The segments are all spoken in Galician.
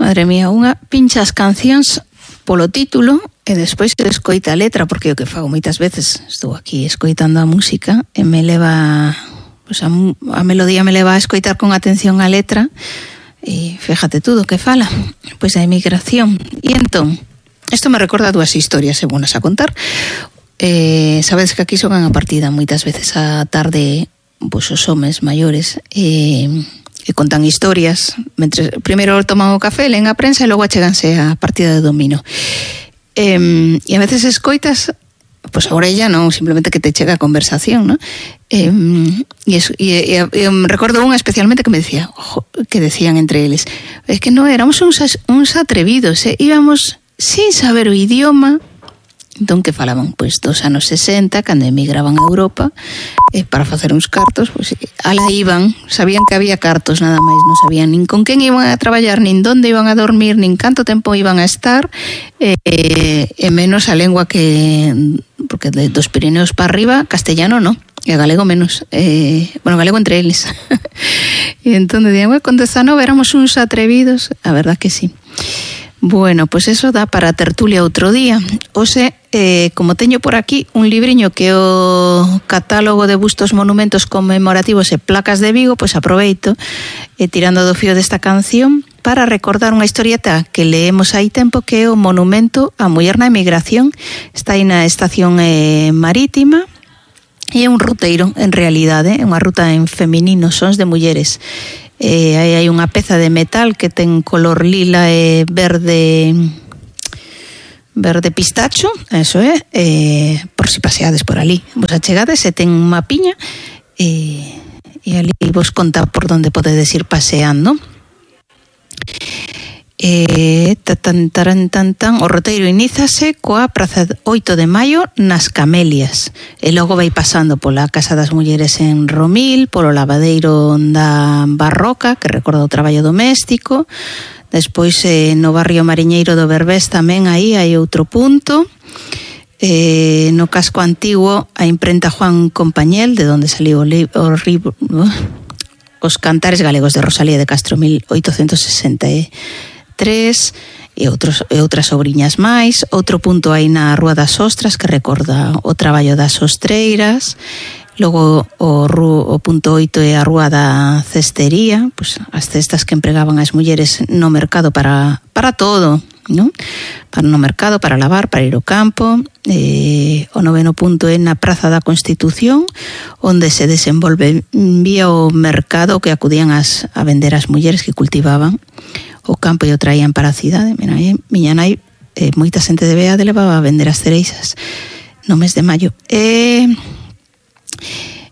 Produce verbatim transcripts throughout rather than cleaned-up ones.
madre mía, unha pincha as cancións polo título e despois se escoita a letra, porque o que fago moitas veces estou aquí escoitando a música e me leva, pues a, a melodía me leva a escoitar con atención a letra e fíjate tú do que fala, pois a emigración. E entón, isto me recorda dúas historias segunas a contar. Eh, sabedes que aquí xogan a partida moitas veces a tarde, pois os homes maiores e, e contan historias mentre primeiro toman o café, leen a prensa e logo acheganse a partida de domino. Eh, e a veces escoitas pois a orella, non simplemente que te chega a conversación, non? Eh, e, es, e, e, e recordo unha especialmente que me decía, ojo, que decían entre eles, es que non éramos uns, uns atrevidos, eh? Íbamos sin saber o idioma. Entón que falaban pois dos anos sesenta, cando emigraban a Europa eh, para facer uns cartos, pois ala iban, sabían que había cartos nada máis, non sabían nin con quen iban a traballar, nin donde iban a dormir, nin canto tempo iban a estar, eh, e menos a lengua que, porque dos Pirineos para arriba castellano non, e galego menos, eh, bueno, galego entre eles. E entón decían, bueno, con dezanove éramos uns atrevidos, a verdad que sí. Bueno, pois pues eso dá para tertulia outro día. Ose, eh, como teño por aquí un libriño que é o catálogo de bustos, monumentos conmemorativos e placas de Vigo, pois pues aproveito, eh, tirando do fío desta canción, para recordar unha historieta que leemos hai tempo, que é o monumento á muller na emigración. Está aí na estación eh, marítima, e é un ruteiro, en realidade, é unha ruta en feminino, sons de mulleres. Eh, aí hai unha peza de metal que ten color lila e verde verde pistacho, eso é, eh, por si paseades por ali. Vos achegades e ten unha piña e, e ali vos conta por onde podedes ir paseando. Eh, tan, tan, tan, tan, o roteiro inízase coa Praza oito de Maio nas Camelias e logo vai pasando pola Casa das Mulleres en Romil, polo lavadeiro da Barroca, que recorda o traballo doméstico. Despois eh, no barrio mariñeiro do Berbés tamén aí hai outro punto. Eh, no casco antigo a imprenta Juan Compañel, de onde saliu o libro, uh, os Cantares Galegos de Rosalía de Castro, mil oitocentos sesenta e tres, e, outros, e outras obriñas máis. Outro punto aí na Rúa das Ostras, que recorda o traballo das ostreiras. Logo o, o punto oito é a Rúa da Cestería, pues, as cestas que empregaban as mulleres no mercado para, para todo, ¿no? Para no mercado, para lavar, para ir ao campo. Eh, o noveno punto é na Praza da Constitución, onde se desenvolve vía o mercado que acudían as, a vender as mulleres que cultivaban o campo e o traían para a cidade. Mira, aí, miña nai, eh, moita xente de Beade levaba a vender as cereixas no mes de maio. E,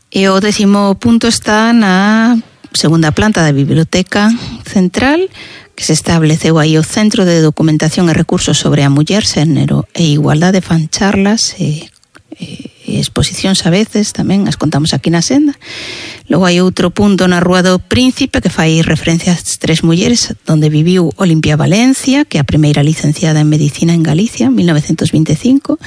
e o décimo punto está na segunda planta da Biblioteca Central, que se estableceu aí o Centro de Documentación e Recursos sobre a Muller, Xénero e Igualdade, fan charlas e, e, e exposicións a veces, tamén as contamos aquí na senda. Logo hai outro punto na Rúa do Príncipe que fai referencia ás tres mulleres, onde viviu Olimpia Valencia, que é a primeira licenciada en Medicina en Galicia, mil novecentos vinte e cinco,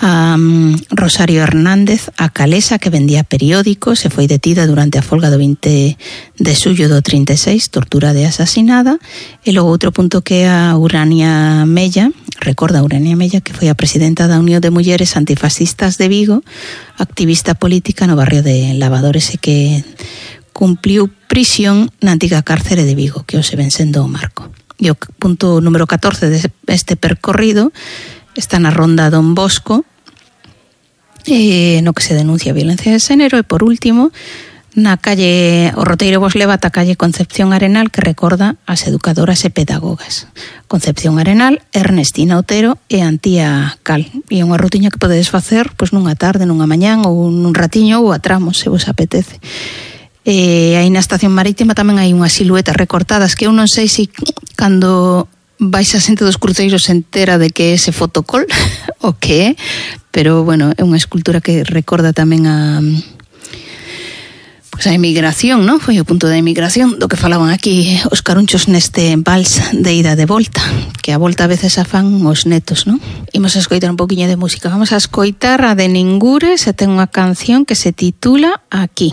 a um, Rosario Hernández, a calesa que vendía periódicos, e foi detida durante a folga do vinte de xullo do trinta e seis, torturada e asasinada. E logo outro punto que é a Urania Mella, recorda a Urania Mella, que foi a presidenta da Unión de Mulleres Antifascistas de Vigo, activista política no barrio de Lavadores, e que cumpliu prisión na antiga cárcere de Vigo, que hoxe ven sendo o Marco. E o punto número catorce deste percorrido está na Ronda Don Bosco, eh, no que se denuncia a violencia de xénero. E por último, na calle, o roteiro vos leva ata a calle Concepción Arenal, que recorda as educadoras e pedagogas. Concepción Arenal, Ernestina Otero e Antía Cal. E é unha rutiña que podedes facer pois nunha tarde, nunha mañán, ou nun ratiño, ou a tramos, se vos apetece. E aí na estación marítima tamén hai unhas siluetas recortadas que eu non sei se cando vais a xente dos cruceiros entera de que é ese fotocol o que é, pero bueno, é unha escultura que recorda tamén a pois a emigración, non? Foi o punto da emigración do que falaban aquí os carunchos neste vals de ida de volta, que a volta a veces a fan os netos, non? Imos a escoitar un poquinho de música. Vamos a escoitar a de Ningures, e ten unha canción que se titula Aquí.